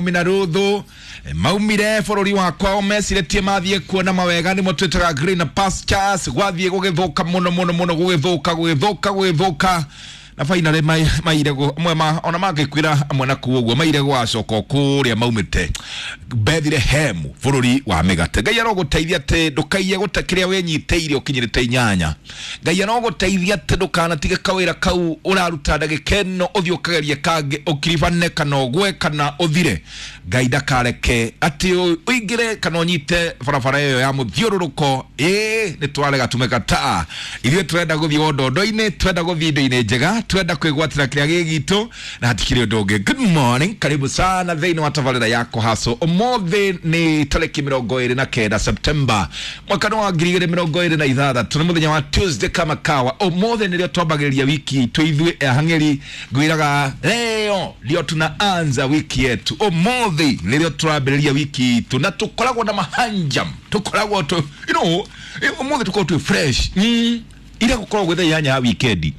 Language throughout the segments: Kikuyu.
Na ruthu maumire bũrũri wa kwao meciretie mathiĩ kuona mawega nĩmo twĩtaga green pastures, gwathiĩ gũgĩthũka mũno mũno mũno, gũgĩthũka gũgĩthũka gũgĩthũka, na finally maire amwe ma ona mangĩkwĩra amwe na kũu ũguo maire gwacoka kũrĩa maumĩte Bethlehem, bũrũri wa mĩgate. Ngai arogũteithia atĩ ndũkaiye gũte kĩrĩa wĩnyitĩire ũkinyĩrĩte inyanya. Ngai arogũteithia atĩ ndũkanatige kawĩra kau ũraruta ndagĩka ĩno, ũthiĩ ũkagerie kangĩ, ũkiribane kana ũgwe kana ũthire. Ngai ndakareke atĩ ũingĩre kana ũnyite barabara ĩyo ya mũthiũrũrũko. Ĩĩ, nĩ twarega tumekataa. Ithuĩ tũrenda gũthiĩ wondondo-inĩ, twenda gũthiĩ indo-inĩ njega, twenda kwĩgwatĩra kĩrĩa gĩ gitũ na hatikĩrĩ ũndũ ũngĩ. Good morning, karibu sana thĩinĩ wa tabarĩra ya kũhaco. Ũmũthĩ nĩ tarĩki 29 September, mwaka nĩ wa 2026, nĩ mũthenya wa Tuesday kama kawa. Ũmũthĩ nĩrĩo twambagĩrĩria wiki itũ ithuĩ ahang'ĩri. Ngwĩraga leo ndio tunaanza wiki yetu, ũmũthĩ nĩrĩo tũrambĩrĩria wiki itũ na tũkoragwo na mahanjam, tũkoragwo tũ ũmũthĩ tũkoragwo twĩ fresh ira gũkoragwo gwĩ thaa 8 ya wikendi.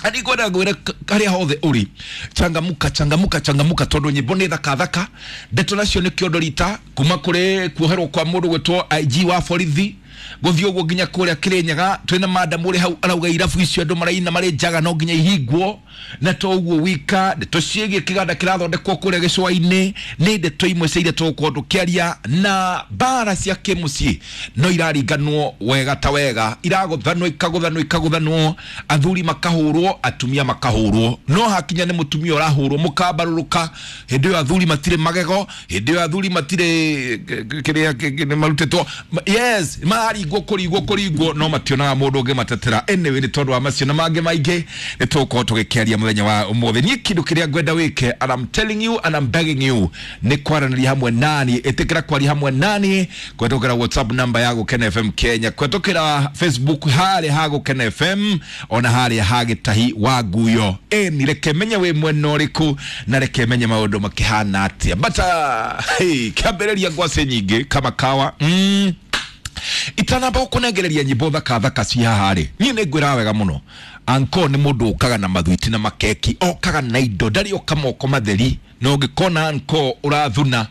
Ani ngwenda ngwĩre harĩa hothe ũrĩ, changamuka, changamuka, changamuka, tondũ nyĩmbo nĩ thaka thaka, ndeto nacio nĩ kĩondo rita kuma kũrĩ kuoherwo kwa mũndũ gwĩtwo IG wa borithi, gũthiĩ ũguo nginya kũrĩa Kĩrĩnyaga twĩna madam ũrĩ hau arauga irabu icio andũ maraina marĩ njaga no nginya ihingwo. Na to ũguo wika, ndeto ciĩgiĩ kĩganda kĩrathondekwo kũrĩa gĩcũa-inĩ nĩ ndeto imwe cia iria tũgũkorwo tũkĩaria, na mbara cia kĩmũciĩ no iraringanwo wega ta wega, iragũthanwo, ikagũthanwo, ikagũthanwo, athuri makahũrwo, atumia makahũrwo, no hakinya nĩ mũtumia ũrahũrwo mũkambarũrũka. Hĩndĩ ĩyo athuri matirĩ magego, hĩndĩ ĩyo athuri matirĩ kĩrĩa nĩ marutĩtwo. Yes, mararingwo kũringwo kũringwo, no mationaga mũndũ ũngĩ matetera. Anyway, nĩ tondũ wa macio na mangĩ maingĩ nĩ tũgũkorwo tũgĩkĩaria mũthenya wa ũmũthĩ. Niĩ kĩndũ kĩrĩa ngwenda wĩke, and I'm telling you and I'm begging you, nĩ kwaranĩria hamwe nani. Ĩtĩkĩra kwaria hamwe nani kũhetũkĩra WhatsApp namba ya Gũkena FM Kenya, kũhetũkĩra Facebook harĩa ha Gũkena FM, ona harĩa ha Gĩtahi wa Nguyo. Ĩni reke menye wĩ mwena ũrĩkũ na reke menye maũndũ makĩhana atĩa. But hey, kĩambĩrĩria ngwacĩ nyingĩ kama kawa itanamba gũkũnengereria nyĩmbo thaka thaka ci haha rĩ, niĩ nĩ ngwĩraga wega mũno, anko nĩ mũndũ ũkaga na mathwiti na makeki, okaga na indo, ndarĩ oka moko matheri. Na ũngĩkona anko ũrathuna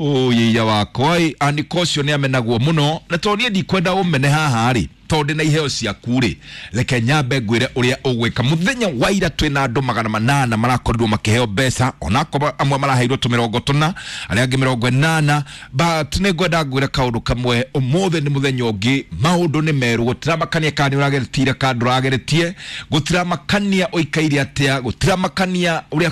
ũyĩia wakwa ĩ, aniko ũcio nĩ amenagwo mũno. Na tondũ niĩ ndikwenda ũmene haha rĩ, tondũ ndĩ na iheo ciaku rĩ, reke nyambe ngwĩre ũrĩa ũgwĩka. Mũthenya wa ira twĩna andũ 800 marakorirwo makĩheo mbeca, onakorwo amwe maraheirwo tũ 90, arĩa angĩ 80. But nĩ ngwenda ngwĩre kaũndũ kamwe, ũmũthĩ nĩ mũthenya ũngĩ, maũndũ nĩ merũ. Gũtiramakania kana nĩ ũrageretie kana ndũrageretie, gũtiramakania ũikaire atĩa, gũtiramakania ũrĩa.